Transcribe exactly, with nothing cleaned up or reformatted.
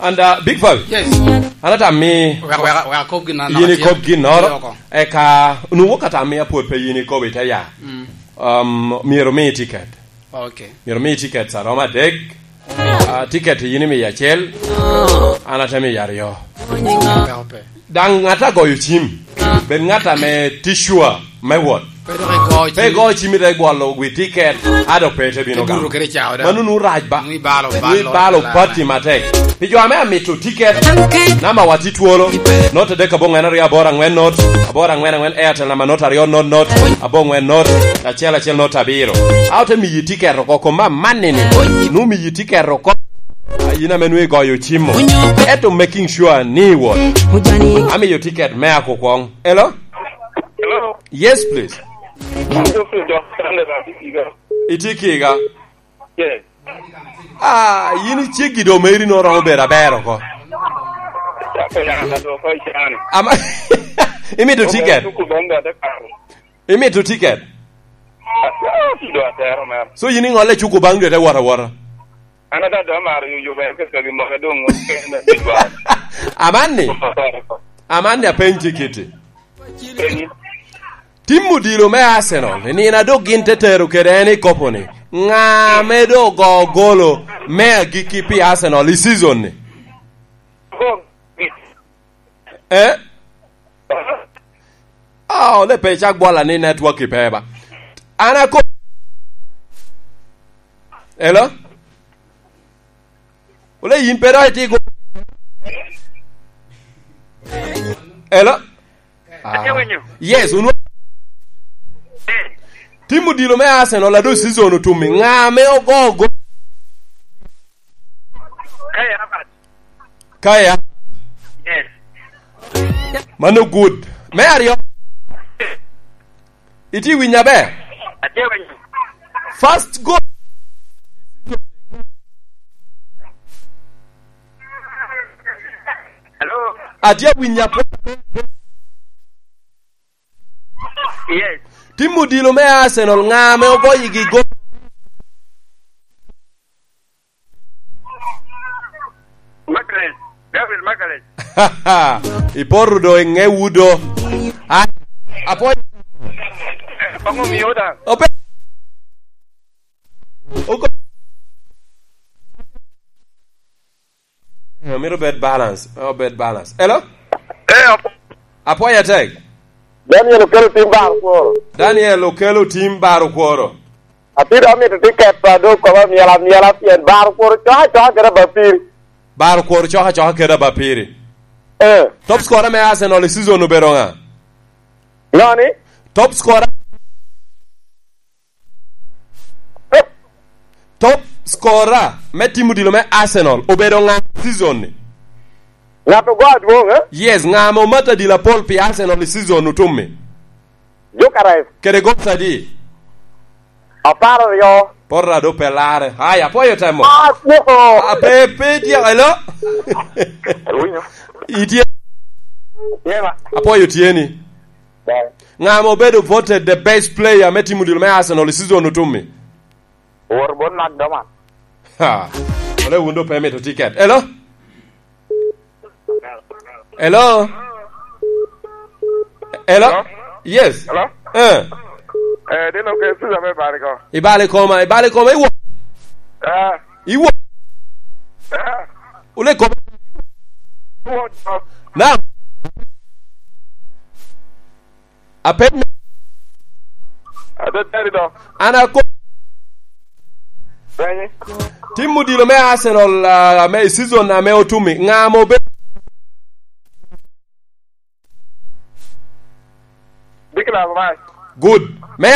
And, uh, Big Five. Yes. An atamo ni wek, wek, wek akob gin an yin ikob ginnoro, oko. Eka nwoŋo ka tam mi apwod pe yin ikobo ite ya. Mm. Um, myero mi tiket. Okay. Myero mi tiket sa romo adek. Ah, tiket yin imiyo acel. An ate miyo aryo. Pe, pe. Daŋ ŋat a goyo cim, bed ŋat ame tye sure me wot. Pe dok igo cim. Pe igo cim ite gwolo wi tiket, a dok pe ite bino gamo. Mano nu rac ba. Nu ibalo, nu ibalo pati matek. Pi jo ame amito tiket, namba wa tye twolo, not adek aboŋwen aryo aboro aŋwen not, aboro aŋwen aŋwen Airtel namba not aryo not not, aboŋwen not, acel acel not abiro. A ote miyi tiket oko kom amanni ni, nu miyi tiket oko. A, yin ame nwoŋo igoyo cim-mu. Ento making sure ni iwot. Amiyo tiket me ako kwoŋ. Hello? Hello? Yes, please. Geoffrey Dok Sande na Kiga. Itye Kiga? Yes. Ah, yin iceggi do meri no romo bedo aber oko. Chako ya ka do ko ichani. Ama, imito tiket? Tuku bonga de karo. Imito tiket? Ah, do atero mero. So yin iŋolle cuku baŋ dwe te wot awota? An ada do amaro yuyo ben kaka gi moke doŋ kene bidwa. Amanni? Amanni apenyi kiti. Tim odilo me Arsenal, i nino a dok gin te tero kede en i kopo ni, ŋa ame doŋ ogo golo me agikki pi Arsenal i season ni? Eh? Ah, ole pe icak bwola ni network i pe ba. An ako-, hello? Ole yin pe dok iti go-, hello? Ah. Atye winyo. Yes, unwa-, tim odilo me Arsenal, ado season otummi. Ŋa ame ogo go-, Kai Havertz. Kai Havertz. Yes. Mano good. Me aryo. Itye winyo aber? Atye winyo. First goal. Hello? Atye winyo apo-, Yes. Tim odilo me Arsenal, ŋa ame ogoyigi gol? Magalhaes, Gabriel Magalhaes. Ipoto do i ŋe wudo. Ah, apwoyo. Koŋ omiyo da. Ope-, oko-, Eh, mito bed balance. Mito bed balance. Hello? Eh, apo- Apwoyo atek. Daniel okelo tim bar kworo. Daniel okelo tim bar kworo. Atye dok amito tiket pa dok kobo amyel amyela pien bar kworo coka coka kede abapiri. Bar kworo coka coka kede abapiri. Eh. Top scorer me Arsenal i season obedo ŋa? Ŋa ni? Top scorer. Top scorer me tim odilo me Arsenal obedo ŋa season ni? Ŋat ogo adwoŋ, eh? Yes, ŋa ame omato adilo apol pi Arsenal i season otummi? Gyökeres. Kede goals adi? Apar aryo. Porra do pe larre. Haya, apwoyo temo. Ah, no. Ah, pe, pe dyek, hello? Awinyo. Itye? Yema. Apwoyo tyeni. Ber. Ŋa ame obedo voted the best player me tim odilo me Arsenal i season otummi? Owor bot Mark Doman. Ha. Ole wun do pe mito tiket. Hello? Hello? Hello? Hello? Yes. Hello? Eh. Eh, dino ke suza me bari ko. Ibale koma, ibale koma, iwo. Ah. Iwo. Ah. Ule koma. Iwo. Na. Apen me- Ate teri do. An ako-, Penyi. Tim odilo me Arsenal, ah, me season ame otumi. Ŋa mo be-, Declan Rice. Good. Me